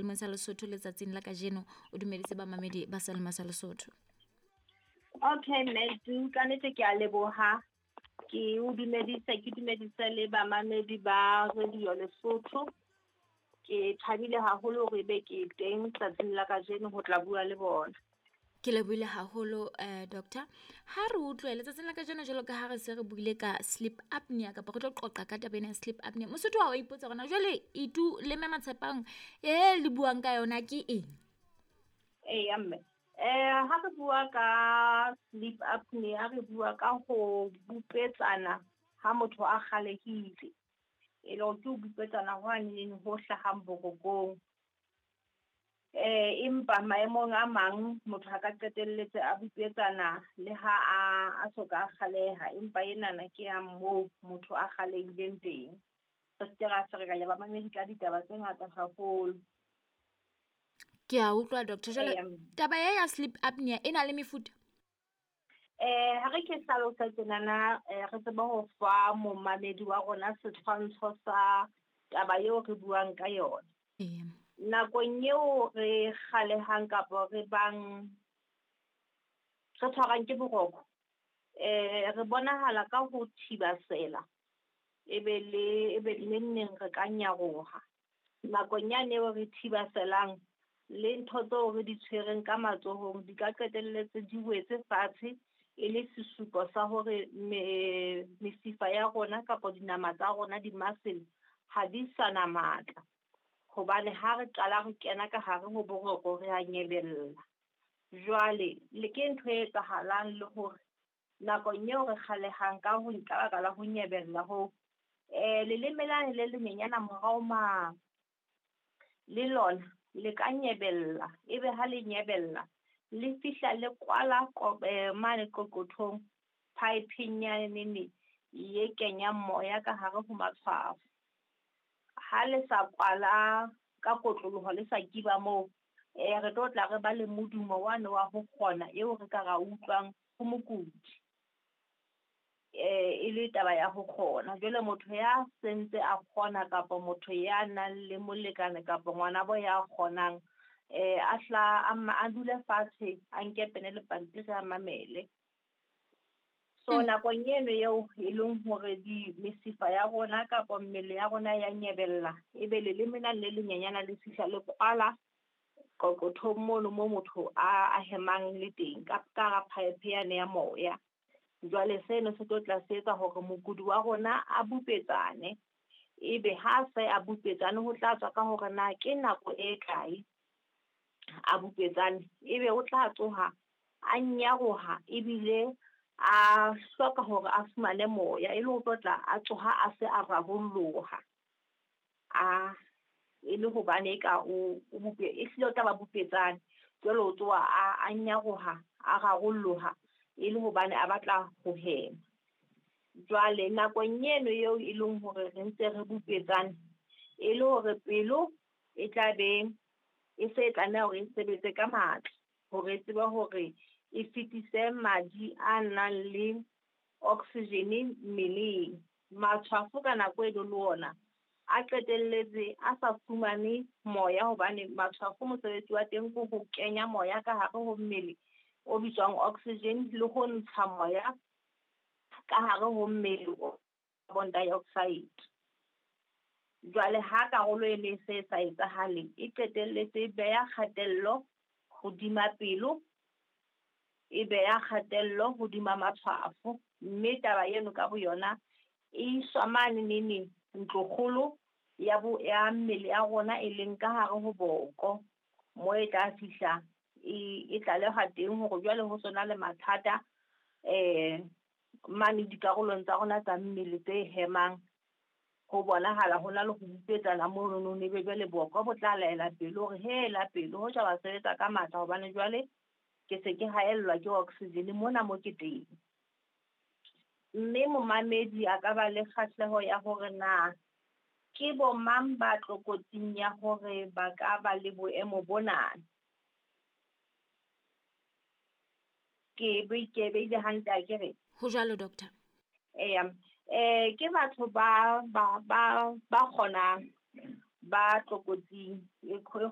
Selemeng sa Lesotho letsatsing la kajeno. O dumedise bamamedi ba Selema sa Lesotho. Okay, Mmedu, ka nnete ke a leboha. Ke o dumedise, ke dumedise le bamamedi ba Radio Lesotho. Ke thabile haholo hore ebe ke teng tsatsing la kajeno ho tla bua le bona. Ke lebohile haholo doctor. Ha re utlwe letsatsing la kajeno jwalo ka ha re se re buile ka sleep apnea kapa re tlo qoqa ka taba ena ya sleep apnea. Mosotho wa ipotsa hore na jwale Itu le Mme Matshepang e le buang ka yona ke eng? Eya mme. Ha re bua ka sleep apnea, re bua ka ho bupetsana ha motho a kgalehile. E le hore ke ho bupetsana ho aneng ho hlahang borokong. Empa maemong a mang motho a ka qetelletse a bupetsana le ha a soka a kgaleha, empa enana ke ya moo motho a kgalehileng teng. Re seke ra ferekanya bamamedi ka ditaba tse ngata haholo. Ke a utlwa doctor. Jwale taba ya sleep apnea e na le mefuta? Ha re ke hlalosa tjenana, re tsebe ho fa momamedi wa rona setshwantsho sa taba eo re buang ka yona. Nakong eo re kgalehang kapa re bang re tshwarang ke boroko, re bonahala ka ho thibasela, ebe le neng re ka nyaroha. Nakong yane eo re thibaselang, le ntho tseo re di tshwereng ka matsohong di ka qetelletse di wetse fatshe, e le sesupo sa hore mesifa ya rona kapa dinama tsa rona di-muscle ha di sa na matla. Hobane ha re qala re kena ka hare ho boroko re a nyebella. Jwale le ke ntho e etsahalang le hore nakong eo re kgalehang ka ho ka baka la ho nyebella ho, leleme lane le lenyenyana morao mane, le lona le ka nyebella, ebe ha le nyebella le fihla le kwala mane qoqothong pipeng yane e kenyang moya ka hare ho matshwafo. Ha le sa kwala ka kotloloho le sa kiba moo, re tlo tla re ba le modumo wane wa ho kgona eo re ka ra utlwang ho mokudi. E le taba ya ho kgona. Jwale motho ya sentse a kgona kapa motho ya nang le molekane kapa ngwanabo ya kgonang, a hla a dule fatshe, a nke pene le pampiri a mamele. So nakong eno eo e leng hore di mesifa ya rona kapa mmele ya rona ya nyebella, ebe leleme lane le lenyenyana le fihla le kwala qoqothong mono mo motho a hemang le teng ka hara pipe yane ya moya. Jwale seno se tlo tla se etsa hore mokudi wa rona a bupetsane, ebe ha se a bupetsane ho tla tswa ka hore na ke nako e kae a bupetsane, ebe o tla tsoha a nyaroha ebile a hloka hore a fumane moya, e le ho tlo tla a tsoha a se a rarolloha. A e le hobane e ka o bupe, e hlile o tla ba bupetsane. Jwale o tsoha a nyaroha, a rarolloha e le hobane a batla ho hema. Jwale nakong eno eo e leng hore re ntse re bupetsane, e le hore pelo e tla be e se e tlameha hore e sebetse ka matla hore e tsebe hore e fetise madi a nang le oxygen mmeleng. Matshwafo ka nako eno le ona a qetelletse a sa fumane moya, hobane matshwafo mosebetsi wa teng ke ho kenya moya ka hare ho mmele o bitswang oxygen le ho ntsha moya ka hare ho mmele o carbon dioxide. Jwale ha karolo e ne se sa etsahale, e qetelletse e beha kgatello hodima pelo, e beha kgatello hodima matshwafo, mme taba eno ka boyona e iswa mane nene ntlokgolo ya bo ya mmele ya rona e leng ka hare ho boko, mo e tla fihla e tlalehwa teng hore jwale ho sona le mathata mane dikarolong tsa rona tsa mmele tse hemang. Ho bonahala ho na le ho bupetsana mono, ebe jwale boko bo tla laela pelo hore hela pelo hoja wa sebetsa ka matla hobane jwale ke se ke haellwa ke oxygen mona mo ke teng. Mme momamedi a ka ba le kgahleho ya hore na ke bo mang ba tlokotsing ya hore ba ka ba le boemo bona. Ke beile hantle akere? Ho jwalo doctor. Eya. Ke batho ba kgonang ba tlokotsing e kgolo